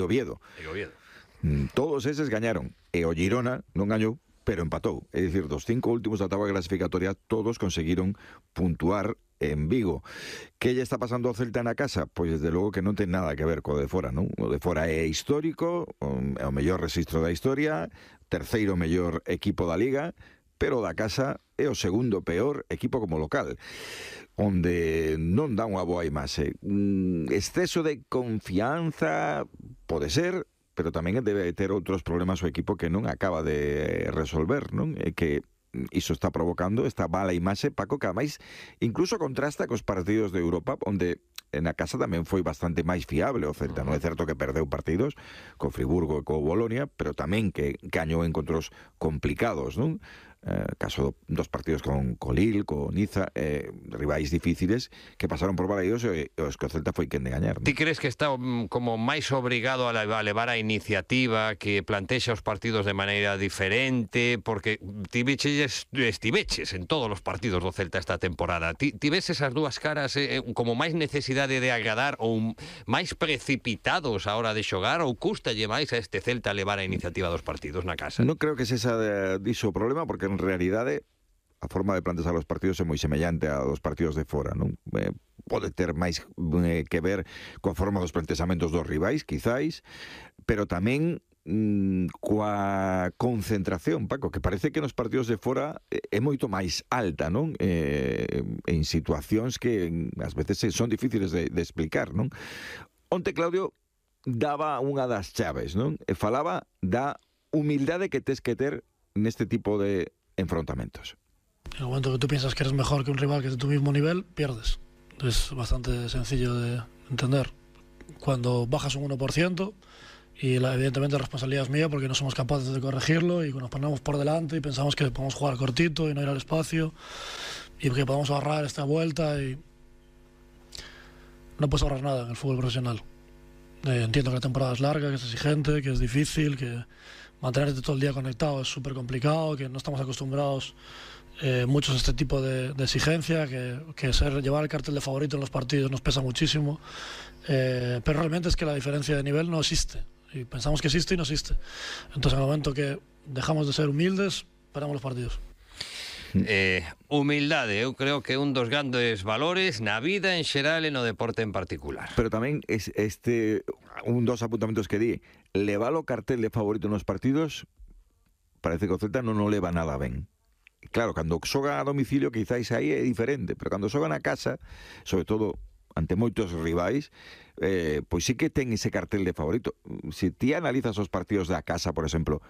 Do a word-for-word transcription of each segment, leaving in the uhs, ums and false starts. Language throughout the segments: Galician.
Oviedo. E Oviedo. Todos eses gañaron, e o Girona non gañou, pero empatou. É dicir, dos cinco últimos da tabla clasificatoria, todos conseguiron puntuar en Vigo. Que lle está pasando ao Celta na casa? Pois desde logo que non ten nada que ver co de fora, non? O de fora é histórico, é o mellor rexistro da historia, terceiro mellor equipo da Liga, pero da casa é o segundo peor equipo como local, onde non dá unha boa imaxe. Mm, exceso de confianza pode ser, pero tamén debe ter outros problemas o equipo que non acaba de resolver, non? E que iso está provocando esta mala imaxe, Paco, que ademais incluso contrasta cos partidos de Europa, onde na casa tamén foi bastante máis fiable o Celta. Non é certo que perdeu partidos co Friburgo e co Bolonia, pero tamén que gañou encontros complicados, non? Eh, caso dos partidos con Lille, con Niza, eh, rivais difíciles que pasaron por Balaídos e os que o Celta foi quen de gañar, non? Ti crees que está um, como máis obrigado a levar a iniciativa, que plantexa os partidos de maneira diferente, porque ti viches, estiveches en todos os partidos do Celta esta temporada. Ti, ti ves esas dúas caras eh, como máis necesidade de agradar ou máis precipitados a hora de xogar, ou custalle máis a este Celta levar a iniciativa dos partidos na casa? Non creo que se esa de, diso o problema, porque en realidade a forma de plantexar os partidos é moi semellante a dos partidos de fora, non? Eh, pode ter máis eh, que ver coa forma dos plantexamentos dos rivais, quizáis, pero tamén mm, coa concentración, Paco, que parece que nos partidos de fora é moito máis alta, non? Eh, en situacións que ás veces son difíciles de, de explicar, non? Onte Claudio daba unha das chaves, non? E falaba da humildade que tes que ter neste tipo de enfrentamientos. En el momento que tú piensas que eres mejor que un rival que es de tu mismo nivel, pierdes. Es bastante sencillo de entender. Cuando bajas un uno por ciento, y la, evidentemente la responsabilidad es mía porque no somos capaces de corregirlo y nos ponemos por delante y pensamos que podemos jugar cortito y no ir al espacio y que podemos ahorrar esta vuelta y no puedes ahorrar nada en el fútbol profesional. Eh, entiendo que la temporada es larga, que es exigente, que es difícil, que mantenerte todo el día conectado es súper complicado, que no estamos acostumbrados eh, muchos a este tipo de, de exigencia, que, que ser, llevar el cartel de favorito en los partidos nos pesa muchísimo, eh, pero realmente es que la diferencia de nivel no existe, y pensamos que existe y no existe. Entonces en el momento que dejamos de ser humildes, perdemos los partidos. Eh, humildade, eu creo que é un dos grandes valores na vida en xeral e no deporte en particular. Pero tamén es este un dos apuntamentos que di, levar o cartel de favorito nos partidos, parece que o Celta non o leva nada ben. Claro, cando xoga a domicilio quizáis aí é diferente, pero cando xoga na casa, sobre todo ante moitos rivais, eh, pois sí que ten ese cartel de favorito. Se ti analizas os partidos da casa, por exemplo,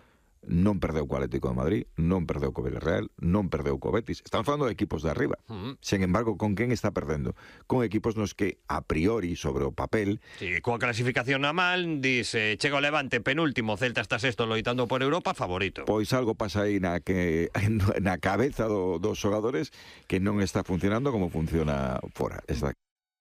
non perdeu co Atlético de Madrid, non perdeu co Villarreal, non perdeu co Betis. Estamos falando de equipos de arriba. Uh-huh. Sen embargo, con quen está perdendo? Con equipos nos que, a priori, sobre o papel... Sí, coa clasificación na mal, dice, chega o Levante penúltimo, Celta está sexto loitando por Europa, favorito. Pois algo pasa aí na, que, na cabeza do, dos xogadores que non está funcionando como funciona fora. Está...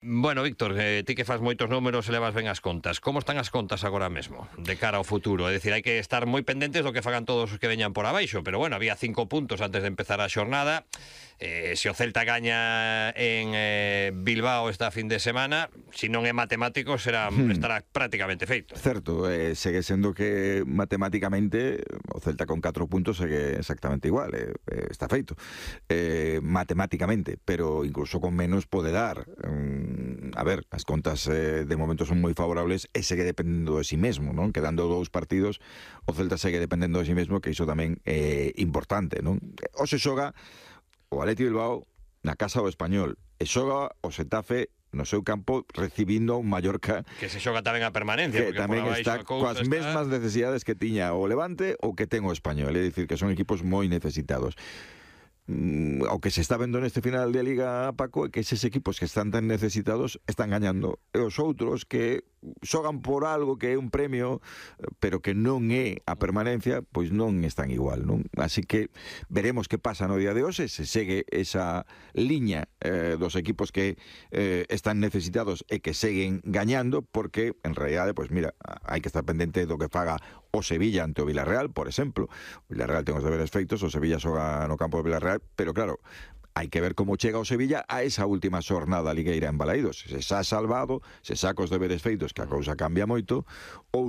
Bueno, Víctor, eh, ti que faz moitos números e levas ben as contas. Como están as contas agora mesmo, de cara ao futuro? É dicir, hai que estar moi pendentes do que fagan todos os que veñan por abaixo, pero bueno, había cinco puntos antes de empezar a xornada. Eh, se o Celta gaña en eh, Bilbao esta fin de semana, se non é matemático, será, hmm. estará prácticamente feito. Certo, eh, segue sendo que matemáticamente o Celta con catro puntos segue exactamente igual, eh, eh, está feito. Eh, matemáticamente, pero incluso con menos pode dar... Um, a ver, as contas eh, de momento son moi favorables e segue dependendo de si mesmo, non? Quedando dous partidos, o Celta segue dependendo de si mesmo, que iso tamén é importante, non? O se xoga o Athletic Bilbao na casa do Español e xoga o Xetafe no seu campo recibindo un Mallorca que se xoga tamén a permanencia, que tamén está coas está... mesmas necesidades que tiña o Levante ou que ten o Español, é dicir, que son equipos moi necesitados. Mm, o que se está vendo neste final de Liga, Paco, é que eses equipos que están tan necesitados están gañando, e os outros que xogan por algo que é un premio pero que non é a permanencia, pois non están igual, non? Así que veremos que pasa no día de hoxe, se segue esa liña eh, dos equipos que eh, están necesitados e que seguen gañando, porque en realidade, pois mira, hai que estar pendente do que faga o Sevilla ante o Villarreal, por exemplo. O Villarreal ten os deberes feitos, o Sevilla xoga no campo do Villarreal, pero claro, hai que ver como chega o Sevilla a esa última xornada ligueira en Balaídos. Se xa salvado, se saca os deberes feitos, que a cousa cambia moito, ou